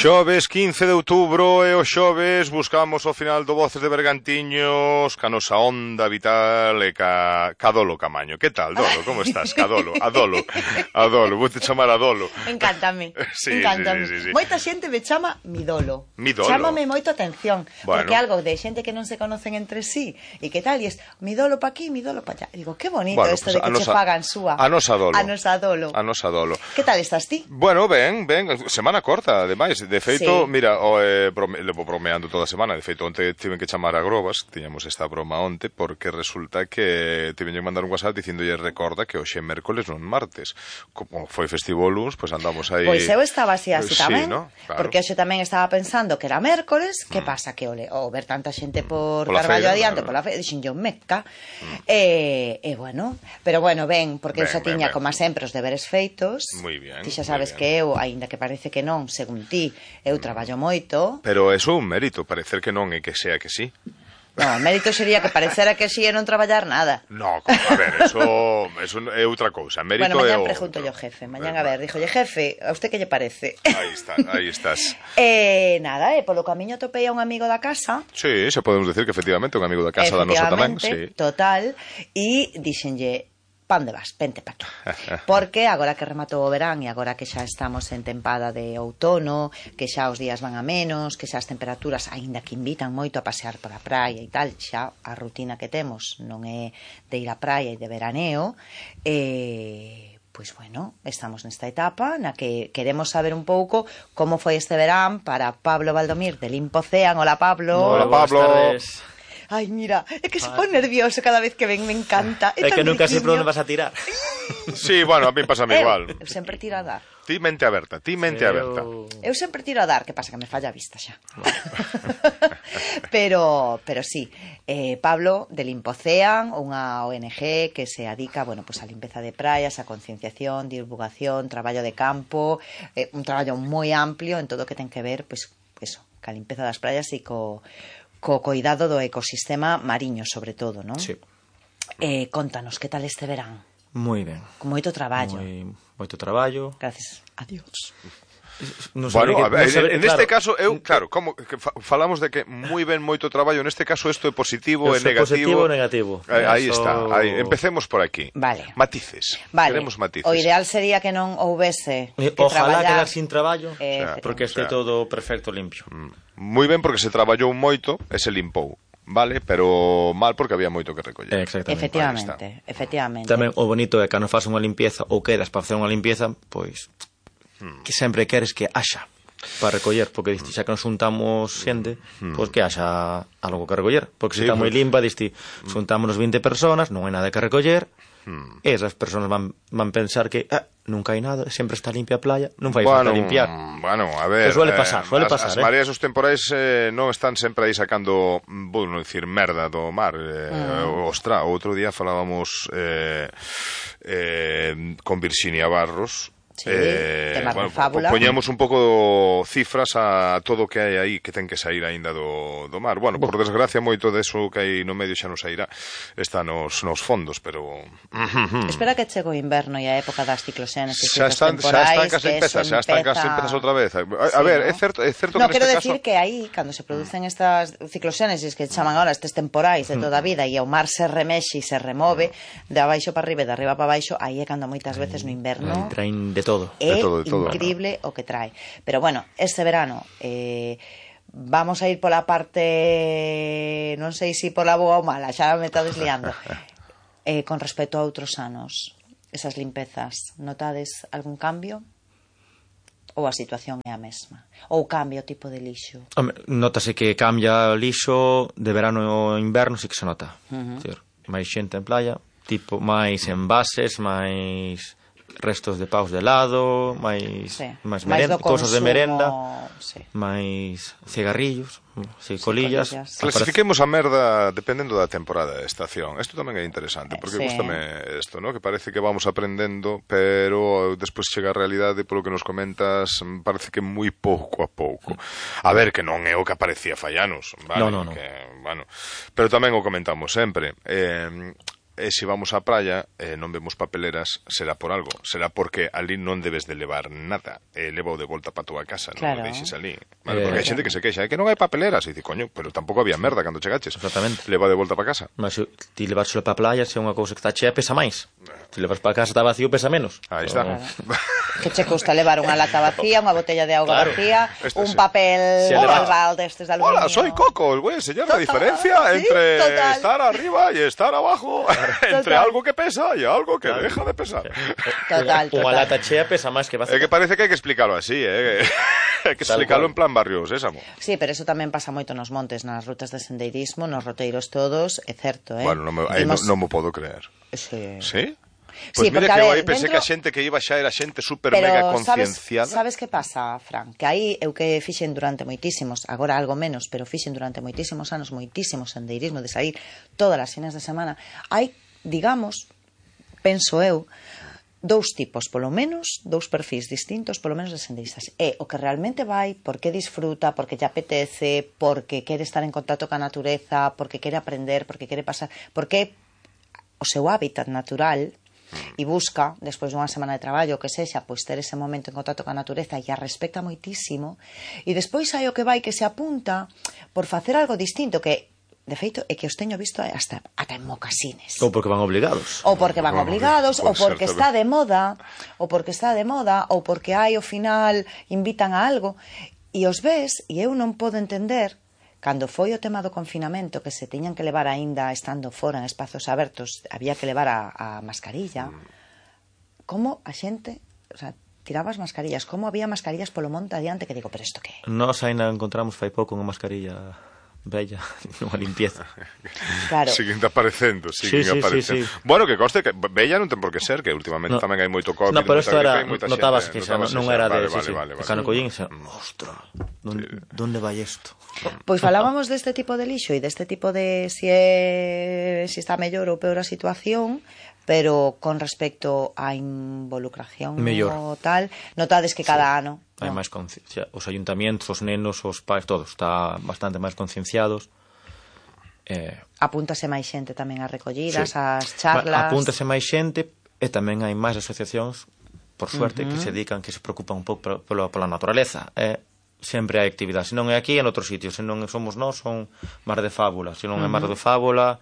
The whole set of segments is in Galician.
Xoves 15 de outubro e o xoves buscamos o final do Voces de Bergantiños ca nosa onda vital e ca Dolo Camaño. Que tal, Dolo? Como estás? Ca Dolo, a Dolo, vou te chamar a Dolo. Encántame, Sí. Moita xente me chama mi Dolo. Chámame moito atención, porque algo de xente que non se conocen entre sí, e que tal, e es mi Dolo pa aquí, mi Dolo pa allá. E digo, que bonito isto de que che fagan súa. A nosa Dolo. A nosa Dolo. Que tal estás ti? Bueno, ben, semana corta, ademais. De feito, mira, levo bromeando toda a semana. De feito, onte tiven que chamar a Grobas, tiñamos esta broma onte, porque resulta que tiven que mandar un WhatsApp dicindolle recorda que hoxe é mércoles non martes. Como foi festivo o luns, pois andamos aí. Pois eu estaba así tamén, ¿no? Claro. Porque hoxe tamén estaba pensando que era mércoles, que pasa que o ver tanta xente por Carballo adiante, pola feira, dixen yo meca, bueno, pero bueno, ben, porque eu xa tiña, como sempre, os deberes feitos. Moi bien. Ti xa sabes que eu, aínda que parece que non, según ti, eu traballo moito. Pero eso é un mérito, parecer que non e que sea que sí. No, o mérito sería que parecera que sí e non traballar nada. No, a ver, eso é outra cousa. Mérito bueno, mañan pregunto yo jefe. Mañan, a ver, díjolle, jefe, a usted que lle parece? Aí estás. Nada, polo camiño topei a un amigo da casa. Sí, se podemos decir que efectivamente un amigo da casa da nosa tamén. Sí. Total, e dixenlle, pa onde vas? Vente pa aquí. Porque agora que rematou o verán e agora que xa estamos en tempada de outono, que xa os días van a menos, que xa as temperaturas, aínda que invitan moito a pasear por a praia e tal, xa a rutina que temos non é de ir á praia e de veraneo, pois bueno, estamos nesta etapa na que queremos saber un pouco como foi este verán para Pablo Valdomir de Limpocean. Hola, Pablo. Hola, Pablo. Ai, mira, é que se pon nervioso cada vez que ven, me encanta. É que nunca sei por onde vas a tirar. Sí, bueno, a mí pásame igual. Eu sempre tiro a dar. Ti mente aberta. Eu sempre tiro a dar, que pasa que me falla a vista xa. pero sí, Pablo de Limpocean, unha ONG que se dedica, bueno, pues a limpeza de praias, a concienciación, divulgación, traballo de campo, un traballo moi amplio en todo o que ten que ver, pues eso, ca limpeza das praias e co cuidado do ecosistema mariño, sobre todo, non? Sí. Contanos, que tal este verán? Moi ben. Con moito traballo. Moito traballo. Gracias a Dios. Bueno, a ver, neste caso, claro, como que falamos de que moi ben moito traballo, neste caso isto é positivo e negativo. Positivo e negativo. Aí está, empecemos por aquí. Vale. Matices. Vale. Queremos matices. O ideal sería que non houvese que ojalá traballar. quedar sin traballo, porque este todo perfecto, limpio. Moi ben porque se traballou moito e se limpou. Vale, pero mal porque había moito que recoller. Efectivamente. Tamén o bonito é que non faz unha limpieza ou quedas para facer unha limpieza, pois que sempre queres que haxa para recoller, porque diste, xa que nos juntamos xente, pois que haxa algo que recoller, porque se está moi limpa, diste, juntámonos 20 personas, non hai nada que recoller, e esas personas van pensar que nunca hai nada, sempre está limpia a playa, non fai falta limpiar. Bueno, a ver, suele pasar. As mareas os temporais non están sempre aí sacando, vou non dicir merda do mar. Ostra, outro día falábamos con Virxinia Barros. Sí, bueno, fábula. Poñamos un pouco cifras a todo o que hai aí que ten que sair aínda do mar. Bueno, por desgracia moito deso que hai no medio xa non sairá, está nos fondos, pero espera que chego o inverno e a época das cicloxénesis e das temporais, xa están case empezas outra vez. A ver, é certo no, que quero decir que aí, cando se producen estas cicloxénesis que chaman agora estes temporais de toda a vida e o mar se remexe e se remove de abaixo para arriba e de arriba para baixo, aí é cando moitas veces no inverno traen de todo. É increíble o que trae. Pero bueno, este verano vamos a ir pola parte, non sei se pola boa ou mala, xa me está desliando. Con respecto a outros anos, esas limpezas, notades algún cambio? Ou a situación é a mesma? Ou cambia o tipo de lixo? Notase que cambia o lixo de verano ao inverno, sí que se nota. Máis xente en playa, tipo máis envases, máis restos de paus de helado, máis cousas de merenda, máis cigarrillos, colillas. Clasifiquemos a merda dependendo da temporada de estación. Isto tamén é interesante, porque gustame isto, ¿no? Que parece que vamos aprendendo, pero despois chega a realidade, polo que nos comentas, parece que moi pouco a pouco. A ver, que non é o que aparecía fai anos, vale? No. Bueno, pero tamén o comentamos sempre. se vamos á praia e non vemos papeleras, será por algo. Será porque ali non debes de levar nada. Leva de volta para a tua casa, non o deixes ali. Vale, porque hai xente que se queixa, que non hai papeleras. E dice, coño, pero tampouco había merda cando chegaches. Exactamente. Leva de volta para casa. Mas se ti levárselo para a playa, se é unha cousa que está chea, pesa máis. Se levas para casa está vacío, pesa menos. Aí está. Que che custa levar unha lata vacía, unha botella de auga vacía, un papel albal destes de aluminio. Hola, soy Coco, os voy a enseñar la diferencia entre estar arriba y estar abajo, entre algo que pesa y algo que deja de pesar. Total. Unha lata chea pesa máis que vacía. É que parece que hai que explicarlo así, hai que explicarlo en plan Barrio Sésamo. Sí, pero eso tamén pasa moito nos montes, nas rutas de sendeirismo, nos roteiros todos, é certo, Bueno, non me podo creer. Sí? Pois sí, mira porque, que eu ver, aí pensei que a xente que iba xa era xente super mega concienciada. Sabes que pasa, Fran? Que aí eu que fixen durante moitísimos, agora algo menos, pero fixen durante moitísimos anos, moitísimo sendeirismo de sair todas as fines de semana, hai, digamos, penso eu, dous tipos, polo menos, dous perfis distintos, polo menos de sendeiristas. É o que realmente vai, porque disfruta, porque lle apetece, porque quere estar en contacto ca natureza, porque quere aprender, porque quere pasar, porque o seu hábitat natural e busca, despois dunha semana de traballo, que sexa, pois ter ese momento en contacto ca natureza e a respecta moitísimo, e despois hai o que vai que se apunta por facer algo distinto, que de feito é que os teño visto hasta en mocasines. Ou porque van obligados. Ou porque van obligados, ou porque está de moda, ou porque hai ao final invitan a algo, e os ves, e eu non podo entender. Cando foi o tema do confinamento, que se tiñan que levar aínda estando fora en espazos abertos, había que levar a mascarilla, como a xente, o sea, tiraba as mascarillas, como había mascarillas polo monte adiante, que digo, pero isto que é? Nós ainda encontramos fai pouco unha mascarilla bella, nunha limpieza. Claro. Siguen aparecendo. Sí. Bueno, que conste que bella non ten por que ser, que últimamente tamén hai moito COVID. No, pero isto era, gripe, notabas que xa non era de... Vale. Cando collín, ostras, donde vai isto? Pois falábamos deste tipo de lixo e deste tipo de si está mellor ou peor a situación, pero con respecto á involucración mellor. O tal, notades que cada ano hai máis conciencia, os ayuntamientos, os nenos, os pais, todos está bastante máis concienciados. Apúntase máis xente tamén a recollidas, as charlas. Apúntase máis xente e tamén hai máis asociacións, por suerte, que se dedican, que se preocupan un pouco pola naturaleza. Sempre hai actividade, se non é aquí, en outro sitio, se non somos nós, son Mar de Fábula, se non é Mar de Fábula,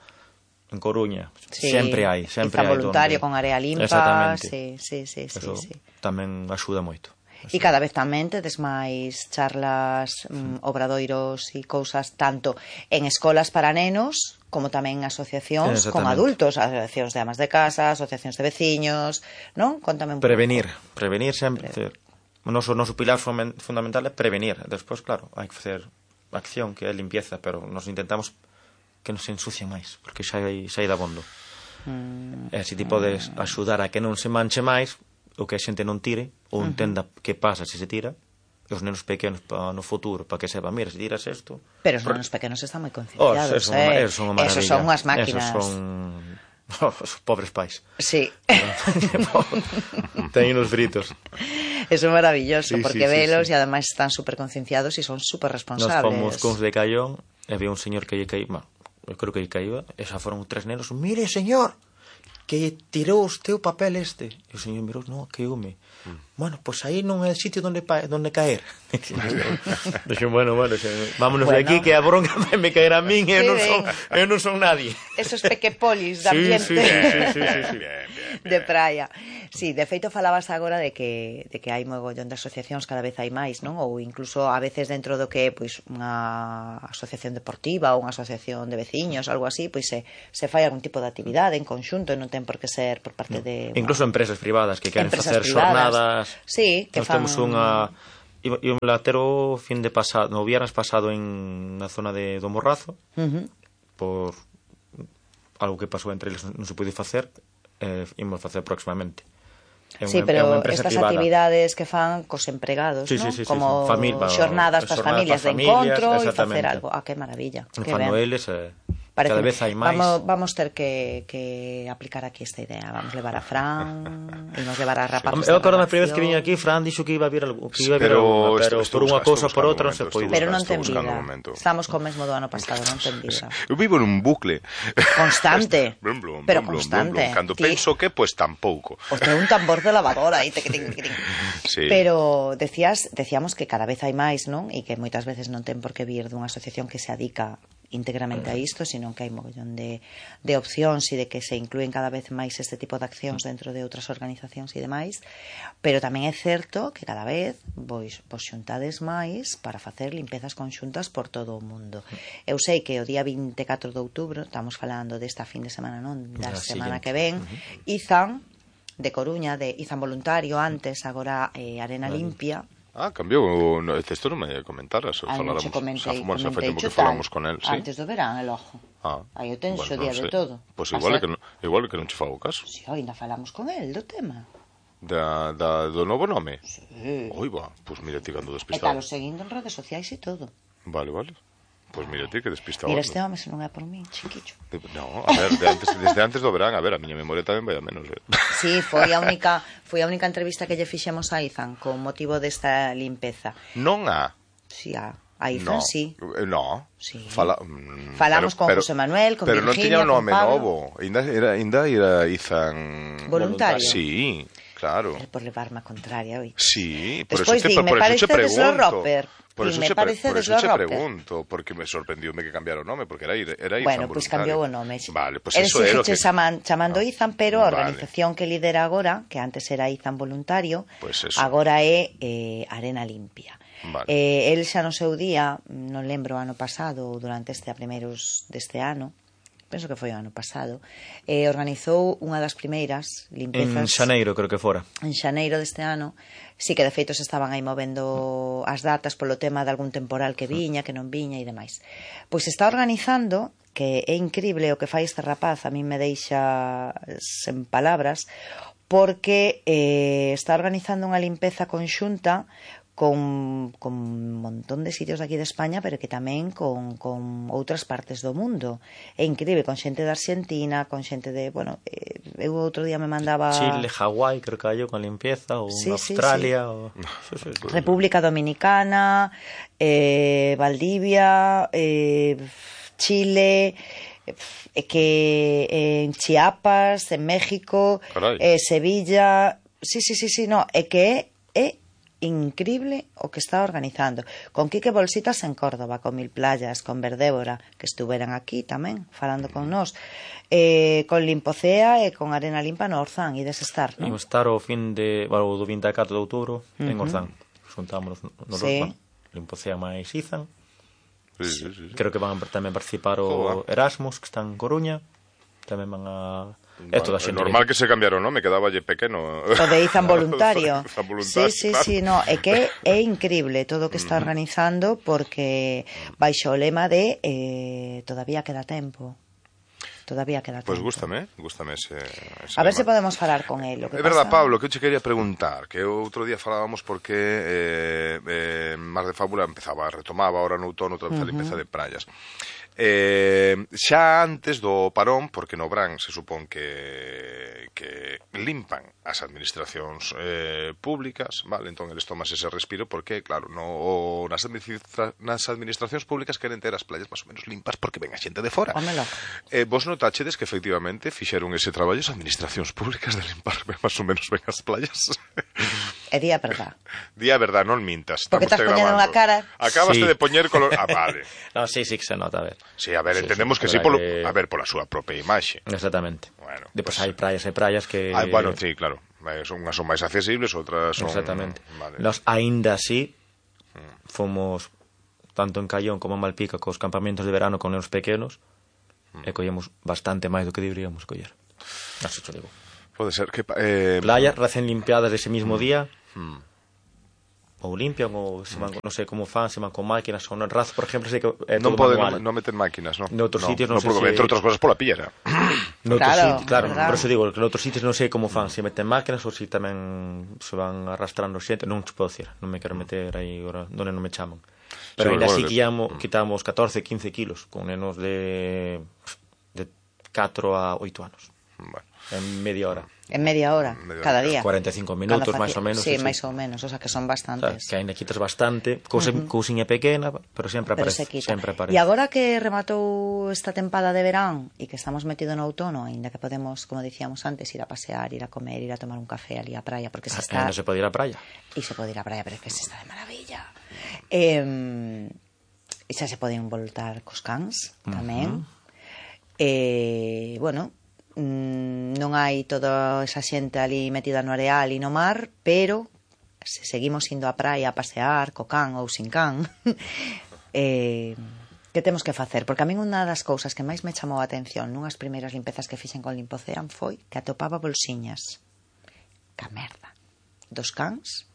en Coruña, sempre hai voluntario donde... con área limpa. Exactamente. Sí. Tamén axuda moito. E cada vez tamén tedes máis charlas, obradoiros e cousas tanto en escolas para nenos como tamén asociacións con adultos, asociacións de amas de casa, asociacións de veciños, non? Contame un pouco. Prevenir sempre. O noso pilar fundamental é prevenir. Despois, claro, hai que facer acción, que é limpieza, pero nos intentamos que non se ensucie máis, porque xa hai dabondo. E se ti podes axudar a que non se manche máis, o que a xente non tire, ou entenda que pasa se se tira, e os nenos pequenos no futuro, para que sepa, mira, se tiras isto... Pero os nenos pequenos están moi concienciados, esos son unha maravilla. Esos son unhas máquinas. Esos son... os pobres pais. Sí. Teñen os fritos. Eso é maravilloso, porque velos e ademais están super concienciados e son super responsables. Nos fomos cons de Caión e había un señor que lle caía, eu creo que lle caía, e xa foron 3 nenos, mire, señor, que tirou o teu papel este. E o señor mirou, non, que home. Bueno, pois aí non é o sitio donde caer. Dixen, bueno, vámonos de aquí, que a bronca me caer a min e eu non son nadie. Esos pequepolis de ambiente. Sí. De praia. Sí, de feito falabas agora de que hai mogollón de asociacións, cada vez hai máis, non? Ou incluso a veces dentro do que pois unha asociación deportiva ou unha asociación de veciños, algo así, pois se fai algún tipo de actividade en conxunto e non ten por que ser por parte de... Incluso empresas privadas que queren facer xornadas. Sí, que fan... Temos unha... Íbamos a ter o fin de pasado, no viernes pasado na zona do Morrazo, por algo que pasou entre eles non se pode facer, ímos facer próximamente. Sí, pero estas actividades que fan cos empregados, ¿no? Como xornadas para as familias de encontro e facer algo. Ah, que maravilla. Fano eles Parece, cada vez hai máis. Vamos ter que aplicar aquí esta idea. Vamos levar a Fran e nos levar a rapazos. Eu acordo a primeira vez que viña aquí, Fran dixo que iba a vir algo, pero por unha cousa por outra non se pode. Pero non ten vida. Estamos co mesmo do ano pasado, non ten vida. Eu vivo nun bucle constante. Pero constante. Cando penso que, pues tampouco. O sea, un tambor de lavadora aí, sí. Pero decíamos que cada vez hai máis, non? E que moitas veces non ten por que vir dunha asociación que se adica íntegramente a isto, sino que hai mogollón de opcións e de que se inclúen cada vez máis este tipo de accións dentro de outras organizacións e demais, pero tamén é certo que cada vez vos xuntades máis para facer limpezas conxuntas por todo o mundo. Eu sei que o día 24 de outubro, estamos falando desta fin de semana, non? Da semana que ven, Izan de Coruña, de Izan voluntario antes, agora Arena Limpia. Cambiou, isto non me comentaras. Falamos que falamos con el, sí. Antes do verán, el ojo. Aí o tenso día de todo. Pois igual que non che fago caso. Si, ainda falamos con el do tema. Do novo nome? Si. Oiba, pois mira ti cando despistado. E talo seguindo en redes sociais e todo. Vale. Pois mira ti que despistado. Mira, este home se non é por mí, chiquillo. No, a ver, desde antes do verán, a ver, a miña memoria tamén vai a menos. Sí, foi a única entrevista que lle fixemos a Izan con motivo desta limpeza. Non a? Si, a Izan, sí. No. Sí. Falamos con José Manuel, con Virginia, pero non tiña un nome novo. Ainda era Izan... Voluntario? Sí, claro. Por levarme a contraria, oi. Sí, por eso te pregunto. Por eso che pregunto, porque me sorprendiume que cambiara o nome, porque era Izan. Bueno, pois cambiou o nome. Vale, pois eso é o que... chamando Izan, pero a organización que lidera agora, que antes era Izan voluntario, agora é Arena Limpia. Vale. El xa no seu día, non lembro ano pasado ou durante a primeiros deste ano, penso que foi o ano pasado, organizou unha das primeiras limpezas... En xaneiro, creo que fora. En xaneiro deste ano. Sí que de feito se estaban aí movendo as datas polo tema de algún temporal que viña, que non viña e demais. Pois está organizando, que é increíble o que fai este rapaz, a mí me deixa sen palabras, porque está organizando unha limpeza conxunta con un montón de sitios aquí de España, pero que tamén con outras partes do mundo. É increíble, con xente de Argentina, con xente de, bueno, eu outro día me mandaba... Chile, Hawái, creo que hai con limpieza, ou Australia, ou... República Dominicana, Valdivia, Chile... que en Chiapas, en México, Sevilla... Sí, no, é que é increíble o que está organizando, con Quique Bolsitas en Córdoba, con Mil Playas, con Verdébora, que estuveran aquí tamén falando con nós, con Limpocea e con Arena Limpa no Orzán. E des estar, non? Imos estar o fin de, o do 24 de outubro en Orzán, xuntámonos no Limpocea máis Izan. Sí. Creo que van tamén participar o Erasmus, que está en Coruña, tamén van a... Bueno, é normal que se cambiara o nome, quedaballe pequeno. O de Izan voluntario. Sí, no, é que é increíble todo o que está organizando, porque baixo o lema de todavía queda tempo. Pois gústame ese a ver se podemos falar con el. É verdad, Pablo, que eu che quería preguntar, que outro día falábamos porque Mar de Fábula retomaba ahora no outono outra vez a limpeza de praias. Xa antes do parón, porque no Bran se supón que limpan as administracións públicas, vale? Entón eles tomas ese respiro porque, claro, nas administracións públicas queren ter as playas máis ou menos limpas porque ven a xente de fora. Vos notachedes que efectivamente fixeron ese traballo as administracións públicas de limpar máis ou menos ben as playas? É día verdad. Día verdad, non mintas. Porque estás poñendo unha cara. Acabaste de poñer color... vale. No, sí que se nota, a ver. Sí, a ver, entendemos que sí, pola súa propia imaxe. Exactamente. Bueno, depois hai praias que... Bueno, sí, claro. Unhas son máis accesibles, outras son... Exactamente. Vale. Nos, aínda así, fomos tanto en Caión como en Malpica cos campamentos de verano con nenos pequenos e collemos bastante máis do que deberíamos coller. Así te digo. Pode ser que... Playas recén limpiadas dese mismo día... ou limpian ou se van, non sei como fan, se van con máquinas ou non. Raz, por exemplo, sei que é todo manual. Non meten máquinas, non? Noutros sitios non sei se... Entre outras cosas pola pillera. Claro, por eso digo que noutros sitios non sei como fan, se meten máquinas ou se tamén se van arrastrando xente, non te podo dicir, non me quero meter aí agora onde non me chaman. Pero ainda así quitamos 14, 15 kilos con nenos de 4 a 8 anos. Bueno. En media hora. En media hora, cada día. 45 minutos, máis ou menos. Sí, máis ou menos, o sea que son bastantes. Que ainda quitas bastante, cousiña pequena, pero sempre aparece. E agora que rematou esta tempada de verán e que estamos metidos no outono, ainda que podemos, como dicíamos antes, ir a pasear, ir a comer, ir a tomar un café ali á praia, porque se está... Ainda se pode ir á praia. E se pode ir á praia, pero é que se está de maravilla. E xa se poden voltar cos cans, tamén. Bueno... non hai toda esa xente ali metida no areal e no mar, pero se seguimos indo á praia a pasear co can ou sin can, que temos que facer? Porque a min unha das cousas que máis me chamou a atención nunhas primeiras limpezas que fixen con Limpocean foi que atopaba bolsiñas ca merda dos cans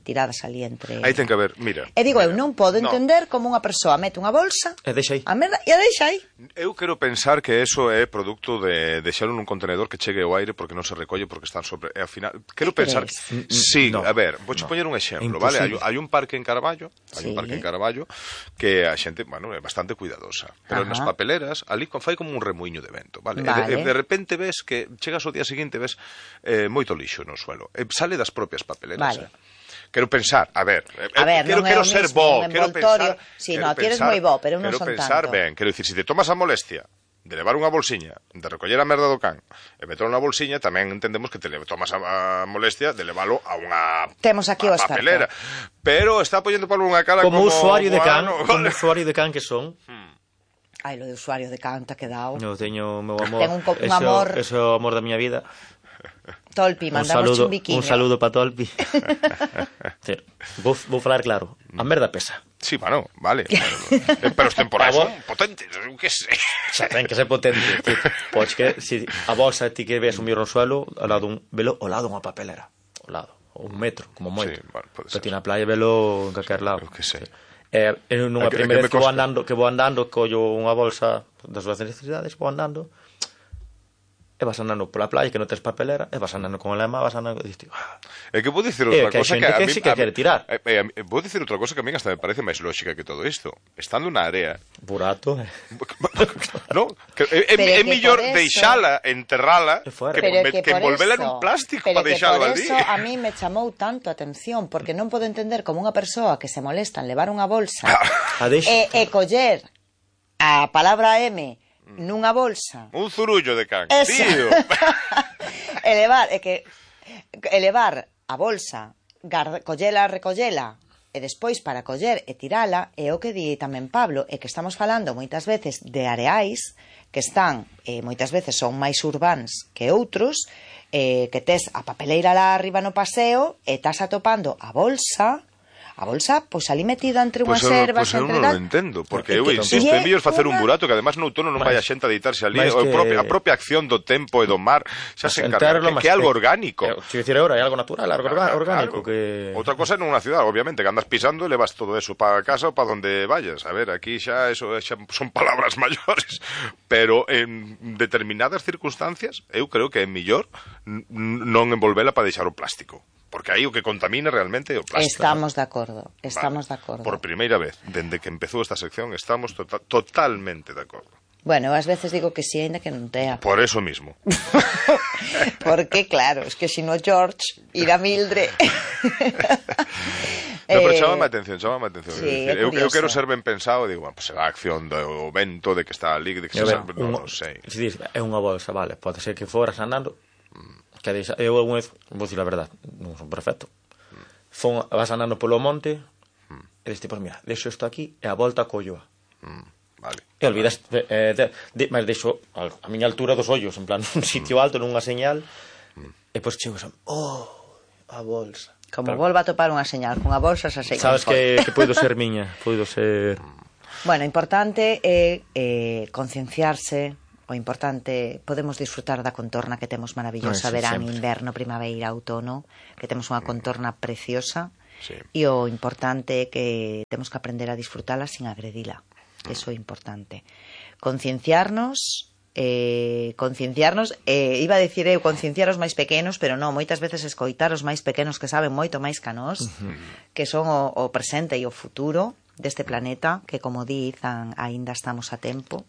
tiradas ali entre... Aí ten que haber, mira... E digo, eu non podo entender como unha persoa mete unha bolsa e deixa aí a merda e a deixa aí. Eu quero pensar que eso é produto de deixalo nun contenedor que chegue ao aire porque non se recolle porque están sobre... E ao final, quero pensar... Sí, a ver, vouche poñer un exemplo, vale? Hai un parque en Carballo, que a xente, bueno, é bastante cuidadosa, pero nas papeleras, ali fai como un remuiño de vento, vale? E de repente ves que chegas ao día seguinte ves moito lixo no suelo, sale das propias papeleras, Quero pensar, a ver, quero ser bo, quero pensar... Si, no, ti eres moi bo, pero non son tanto. Quero pensar ben, quero dicir, se te tomas a molestia de levar unha bolsiña, de recoller a merda do can, e meterlo na bolsiña, tamén entendemos que te tomas a molestia de levalo a unha papelera. Pero está poñendo para unha cara como usuario de can, como usuario de can que son... Ai, lo de usuario de can te ha quedado. Eu teño meu amor, tengo un amor... Eso é o amor da miña vida. Tolpi, mandamos un biquiño. Un saludo para Tolpi. Vou falar claro. A merda pesa. Sí, bueno, vale. Pero os temporais son potentes, eu que sei. Xa ten que ser potente. Pois que si a bolsa ti que ves un mirro no suelo, ao lado dunha papelera, ao lado, ou un metro, como moito. Sí, bueno, pode ser. Pero ti na playa velo en calquer lado. Eu que sei. Nunha primeira vez que vou andando, collo unha bolsa das súas necesidades, vou andando, e vas andando pola playa que non tes papelera, e vas andando con a lema, vas andando e dices, é que vou dicir outra cosa que a mí sí que quere tirar. Vou dicir outra cosa que a mí hasta me parece máis lógica que todo isto. Estando na área burato, no, é mellor deixala, enterrala que envolvela nun plástico para deixalo ali. Pero que por eso a mí me chamou tanto a atención, porque non podo entender como unha persoa que se molesta en levar unha bolsa e coller a palabra M nunha bolsa. Un zurullo de can, tío. elevar a bolsa, recollela, e despois para coller e tirala, é o que di tamén Pablo, é que estamos falando moitas veces de areais que están, moitas veces son máis urbáns que outros, que tes a papeleira lá arriba no paseo e estás atopando a bolsa, pois ali metida entre unhas ervas... Pois eu non o entendo, porque eu insisto, é mellor facer un burato que además no outono non vai a xente a deitarse ali, a propia acción do tempo e do mar xa se encarga, que é algo orgánico. Se dicir agora, é algo natural, algo orgánico. Outra cosa é nunha cidade, obviamente, que andas pisando e levas todo eso para casa ou para onde vayas. A ver, aquí xa son palabras maiores, pero en determinadas circunstancias eu creo que é mellor non envolvela para deixar o plástico. Porque aí o que contamina realmente é o plástico. Estamos de acordo. Por primeira vez, dende que empezou esta sección, estamos totalmente de acordo. Bueno, ás veces digo que sí, ainda que non tea. Por eso mismo. Porque, claro, es que si no George irá Mildred. Pero chámame a atención. Sí, eu quero ser ben pensado, digo, pues será a acción do vento, de que está ali, de que non sei. É unha bolsa, vale, pode ser que foras andando, que eu algunha vez, vou dicir a verdade, non son perfecto, vas andando polo monte e diste, pois mira, deixo isto aquí e a volta colloa. Vale. E olvidas, mas deixo a miña altura dos ollos, en plan, un sitio alto, nunha señal, e pois chego a bolsa. Como volva a topar unha señal cunha bolsa, xa sei. Sabes que poido ser miña, poido ser... Bueno, importante é concienciarse. O importante, podemos disfrutar da contorna que temos maravillosa, verán, inverno, primavera, outono, que temos unha contorna preciosa, e o importante é que temos que aprender a disfrutala sin agredila. Eso é importante. Concienciarnos, iba a dicir eu, concienciar os máis pequenos, pero non, moitas veces escoitar os máis pequenos que saben moito máis que nós, que son o presente e o futuro, deste planeta, que como dizan, aínda estamos a tempo.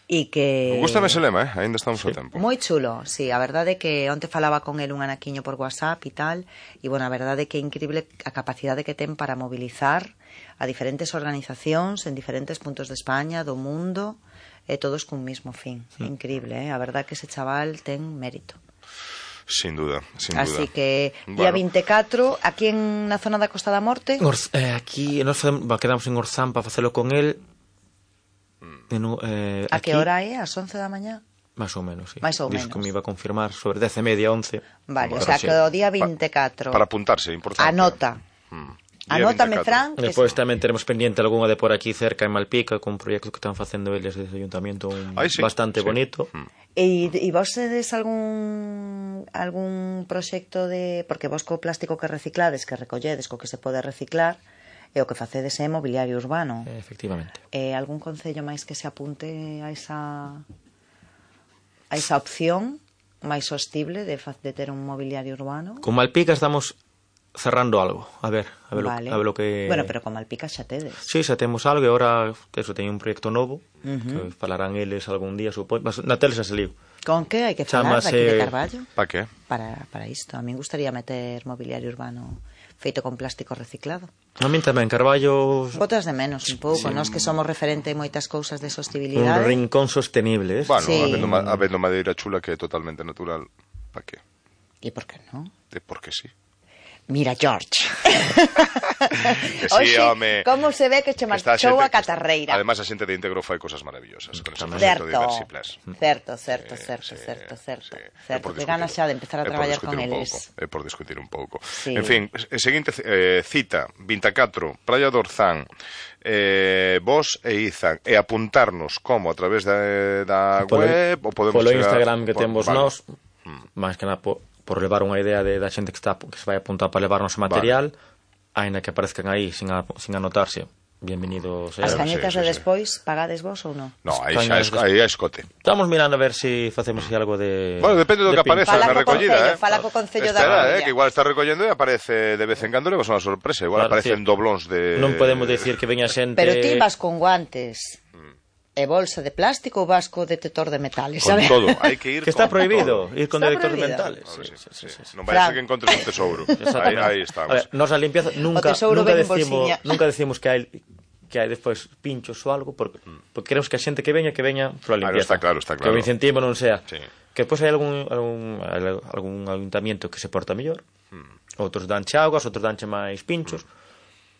E que... Gústame ese lema, aínda estamos a tempo. Moi chulo, sí, a verdade é que onte falaba con el un anaquiño por WhatsApp e tal, e bueno, a verdade é que é increíble a capacidade que ten para mobilizar a diferentes organizacións en diferentes puntos de España, do mundo, e todos cun mismo fin. Increíble, a verdade é que ese chaval ten mérito. Sin duda, sin duda. Así que, día 24, aquí na zona da Costa da Morte... Aquí, nos quedamos en Orzán para facelo con el... A que hora é? As 11 da mañá? Más ou menos, sí. Mais ou Diz menos. que me iba a confirmar sobre 10:30, 11. Vale, o sea, que o día 24... Para apuntarse, importante. Anota. Anótame, Fran. Depois tamén teremos pendiente algunha de por aquí cerca en Malpica, con un proxecto que están facendo eles desde o ayuntamiento bastante bonito. E vos tedes algún proxecto de... Porque vos co plástico que reciclades, que recolledes, co que se pode reciclar, e o que facedes é mobiliario urbano. Efectivamente. Algún concello máis que se apunte a esa opción máis sostible de ter un mobiliario urbano? Con Malpica estamos cerrando algo. A ver lo que... Bueno, pero con Malpica xa tedes. Sí, xa temos algo e agora eso teño un proxecto novo que falarán eles algún día, supoño. Na tele xa saliu. Con que hai que falar aquí de Carballo? Para que? Para isto. A min gustaría meter mobiliario urbano feito con plástico reciclado. A min tamén, Carballo... Botas de menos un pouco, nós que somos referente en moitas cousas de sostibilidade. Un rincón sostenible, Bueno, habendo madeira chula que é totalmente natural, para que? E por que non? Porque sí. Mira, George. Que sí, Oxe, home. como se ve que che marchou a catarreira. Además, a xente de Íntegro fai cosas maravillosas con ese proxecto de Diversiplas. Certo. Que ganas xa de empezar a traballar con eles. É por discutir un pouco. Sí. En fin, seguinte cita, 24, Praia do Orzán. Vos e Izan, e apuntarnos como a través da web ou podemos polo chegar... Instagram que temos nós, máis que nada por levar unha idea da xente que se vai apuntar para levarnos material, aínda que aparezcan aí sin anotarse. Bienvenidos. As cañetas de despois, pagades vos ou non? No, aí é escote. Estamos mirando a ver se facemos algo de... Bueno, depende do que apareza na recollida, Fala co Concello da Espera, Coruña. que igual está recollendo e aparece de vez en cando, levas unha sorpresa. Igual aparecen doblóns de... Non podemos decir que veña xente... Pero ti vas con guantes e bolsa de plástico ou vas co detector de metales, con sabes? todo, hai que ir que está con prohibido todo. ir con Está detectores prohibido. mentales. Sí. Non vai a ser que encontres un tesouro. Aí estamos. A ver, nos a limpieza nunca decimos que hai despois pinchos ou algo porque queremos que a xente que veña pola limpieza. Está claro. Que o incentivo non sea. Sí. Que despois hai algún ayuntamiento que se porta mellor. Outros danche augas, outros danche máis pinchos.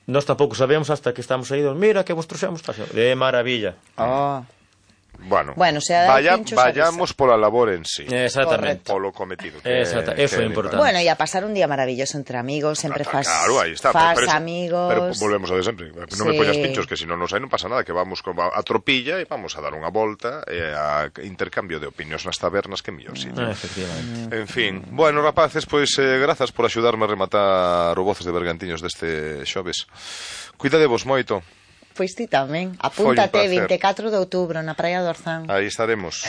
Nós tampouco sabemos hasta que estamos aí, mira que vos trouxemos, de maravilla. Bueno, vayamos pola labor en sí. Exactamente. Polo cometido. Eso é importante. Bueno, e a pasar un día maravilloso entre amigos, sempre fas amigos. Pero volvemos a de sempre. Non me poñas pinchos, que se non nos hai non pasa nada, que vamos a tropilla e vamos a dar unha volta a intercambio de opinións nas tabernas, que mellor sitio. Efectivamente. En fin, bueno, rapaces, pois grazas por axudarme a rematar o Voces de Bergantiños deste xoves. Cuidadevos moito. Pois ti tamén. Apúntate 24 de outubro na Praia do Orzán. Aí estaremos.